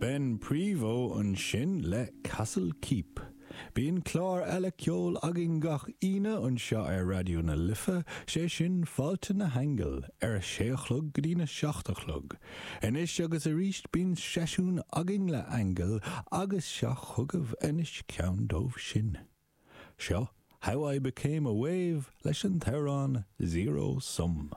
Ben Prevost ansin le Castle Keep. Bíonn clár eile ceoil againn gach Aoine anseo ar Raidió na Life, sé sin Fáilte na hAingeal, ar a sé a chlog go dtína seacht a chlog. Anois agus arís bíonn seisiún againn le haingil agus seo chugaibh anois ceann dóibh sin. Seo How I Became a Wave leis an t-amhrán Zero Sum.